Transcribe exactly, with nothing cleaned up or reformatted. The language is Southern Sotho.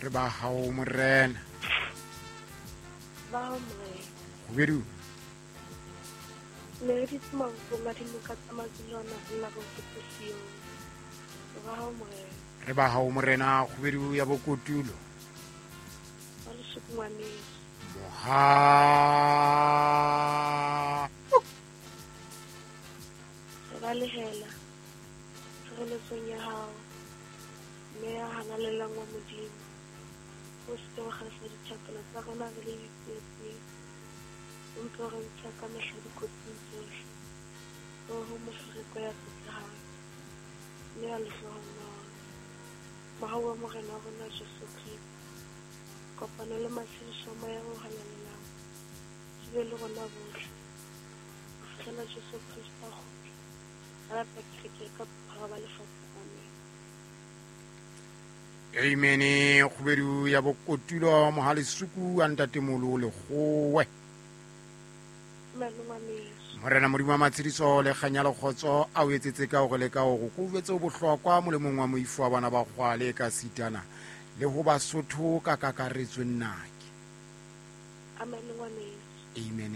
Re ba hao morena. Ba hao morena. Kgubedu. Ne re ditse mabopong a dinoka tsa Mazulwana re lla re hopotse Sione. Re ba hao morena. Re ba hao morena kgubedu ya bokotulo. Ba lesuku ngwaneso. Moha. Re balehela tshireletsong ya hao, mme ya halalelang wa Modimo. O se ke wa kgasa dithapelo tsa rona re le ditsietsing, o mpe o re ntshe ka mehla dikotsing tsohle. Oho mofereko ya tlotlehang, mme ya lehlohonolo. Mohau wa Morena wa rona Jesu Kreste, kopano le matshediso a Moya o Halalelang, di be le rona bohle, ho fihlela Jesu Kreste a kgutla, a lata kereke ka bophara ba lefatshe. Amen. Amen. Kgubedu ya bokotulo mohalesuku a ntatemolo lekgowe. Amen ngwaneso. Morena Modimo wa matshediso le kganya le kgotso a o etsetse ka hore le ka hore ko jwetse o bohlokwa molemong wa moifo wa bana ba kgwale ka sitana le ho Basotho ka kakaretso nnake. Amen ngwaneso. Amen.